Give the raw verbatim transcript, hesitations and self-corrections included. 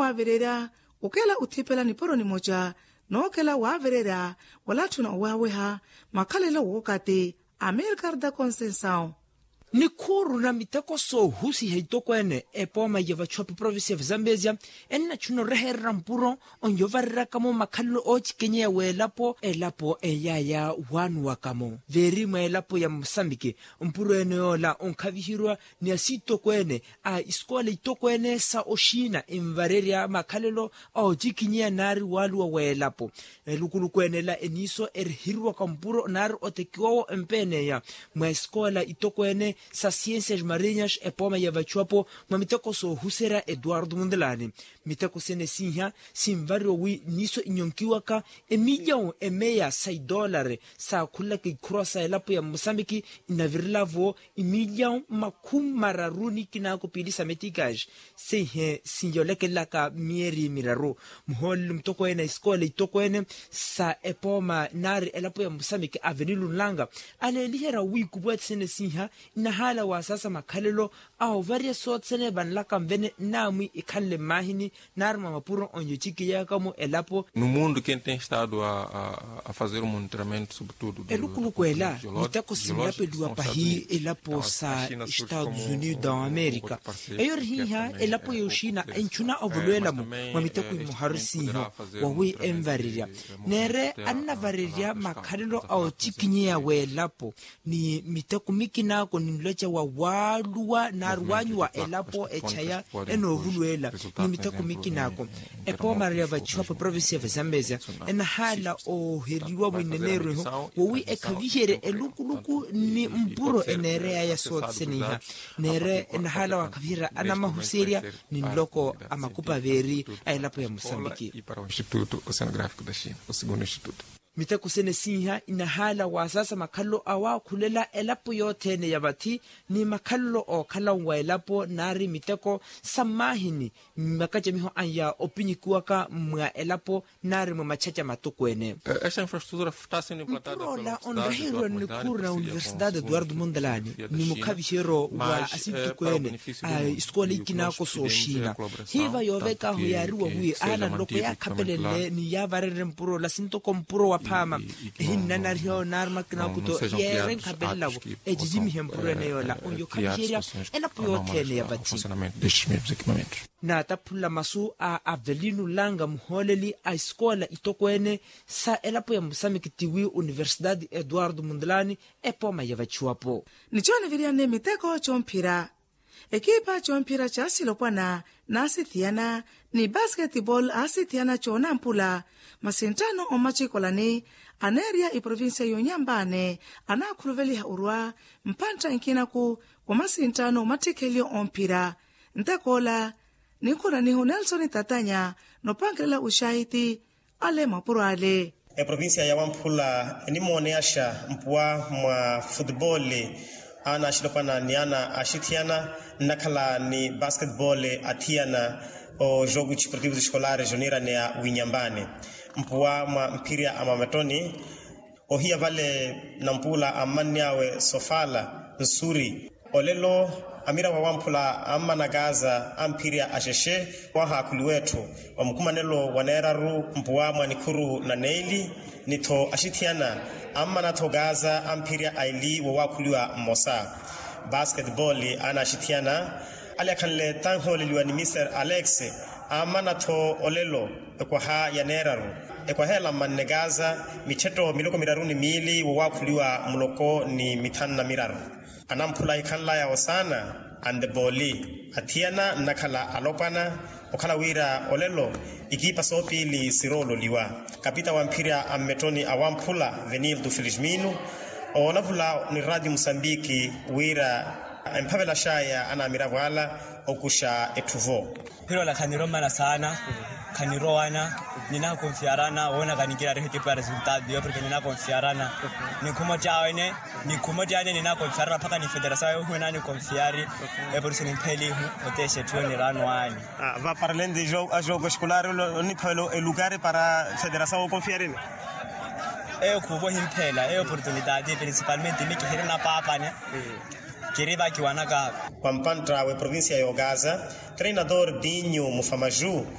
Waavirerya okela othipela nipuro nimoca nookela waavirerya walatthuna owaweha makhalelo wookati. Amirkarta concensao. Nikhuuru na miteko soohusiha itokweene epooma ya vachuwapi provincia ya vizambezia ennatthuna orehererya mpuro onyovareryaka-mo makhalelo oochikinyeya w'elapo elapo eyaaya waanuwaka-mo veeri mwa elapo ya musambiki. Mpuro ene yoola onkhavihirwa ni asiitokweene a isikoola itokweene sa oxiina envarerya makhalelo a otikinyeya naari waaluwa w'elapo. Elukuluku ene ela eniiso erihiriwaka mpuro naari otekiwa-wo empeeneya mwa esikoola itokweene sa ciencias marinyas epooma ya vachuwapo mwa miteko soohuserya etuwartu muntelaani. Miteko sene siiha sinvariwa wi niiso inyonkiwaka emilyawu emeya sa idoolari saakhulelaka ikhurwa sa elapo ya musambiki inavirela-vo imilyawu makhumi mararu ni kinaako piili sa metikasi. Seihe sinyolekelelaka miyeeri miraru muhooleli mutokweene a isikoola itokweene sa epooma naari elapo ya musambiki avenilunlanga aleeliherya wi kupuweti sene siiha inahaala wasaasa makhalelo a ovarya soothene vanlaka nvene nnaamwi ikhanle mmaahini naari mwa mapuro onyochikiyaka-mo elapo. No mundo quem tem estado a fazer o monitoramento sobretudo elukuluku ela miteko sinlapeliwa pahi elapo sa estados unidos amerika. Eyo ori hiiha elapo yooxina entthuna ovolowela-mo mwa miteko imoharu siiho wawi envarerya neere annavarerya makhalelo a otikinyeya w'elapo ni miteko mikinaako ninloca wa waaluwa naari waanyuwa elapo echaya enoovuluwela ni miteko mikinaako. Epoomara ya vachiwapo provincia ya vazambezia enahaala ooheriwa mwineneerweho wowi ekhaviherye elukuluku ni mpuro eneereyaya soothene iha neere enahaala waakhaviherya anamahuserya ni nloko a makupa veeri a elapo ya musambiki. Miteko sene siiha inahaala waasaasa makhalelo awaakhulela elapo yothene ya vathi ni makhalelo ookhala-wo wa elapo naari miteko sa mmaahini mmakacamiho anya opinyikiwaka mwa elapo naari mwa machaca matokweene. Mpuro ola onreheryiwa ni nikhuuru na universidade eduardo mondalani ni mukhaviheryo wa asittukweene a isikola ikinaako sooxina hiiva yoovekaahu yaariwa wi aana nloko yaakhapelenle ni yaavarerye mpuro ola sintoko mpuro wa phaama ehinnanariha onaari makina akuto yeere nkhapelela-vo ecicimihe mpuro ene yoola oyo khaviherya elapo yothene ya vathi. Naataphula masu a avelino langa muhooleli a isikoola itokweene sa elapo ya musamiki tiwi universidade eduardo mundulani epooma ya vachiwapo. Ni cooniviryani miteko coomphira ekiipa coomphira ca silopwana naasithiyana ni basketball aasithiyana coonampula masinttano omacikolani aneerya iprovincia y'onyambaani anaakhuluveliha orwa mphantta inkinaku wa masinttano omattikhelyo omphira. Ntekoola ninkhunanihu nelson tatanya noopankelela uxaahiti ale mapuro ale. Eprovincia ya wamphula enimooneyaxa mpuwa mwa futebole ana axilopwana ni ana axithiyana nnakhala ni basketbole athiyana ojogo ciprotivos escolares oniiraneya winyambani mpuwa mwa mphirya a mamettoni ohiya vale nampuula ammanny'awe sofala nsuri. Olelo amiravo awamphula ammana kaasa amphirya axexe wahaakhuliwa etthu wa mukumanelo wa neeraru mpuwa mwa nikhuru na neeli ni-tho axithiyana ammana-tho kaasa amphirya aili wowaakhuliwa mmosa. Basketball aana axithiyana ale akhanle tanhooleliwa ni mister alex ammana-tho olelo ekwaha ya neeraru ekwaha ela mmanne kaasa mitthetto miloko miraru ni miili wowaakhuliwa muloko ni mitthanu na miraru. Anamphula ahikhanlaya osaana antepooli athiyana nnakhala alopwana okhala wira olelo ikiipa soopiili siroololiwa. Kapita wa mphirya a mmettoni a wamphula venilto felismino oolavula ni ratio musambiki wira emphavelaxaya anamiravo ala okuxa etthu-vo. Phirola khaniromana saana khanirowana ninakonfiarana woona kaninkira rehe tipo ya resultado yo porke ninakonfiarana. Ninkhumo tyawe ne ninkhumo tyawe ne ninakonfiarana mpaka ni federasawo yohuwe nanikonfiari. Eporisi nimphelihu otexe etthu yo niraano ani. Vaparalente a jogo escolar oniphavela elukari para federasawo okonfiarina. Eyo khuvo himphela eyo oportunitati principalmente mikihiri napaapane. Kiri vakiwanaka. Wa mpantta w'eprovincia y'okaza treinador dinho mufamaju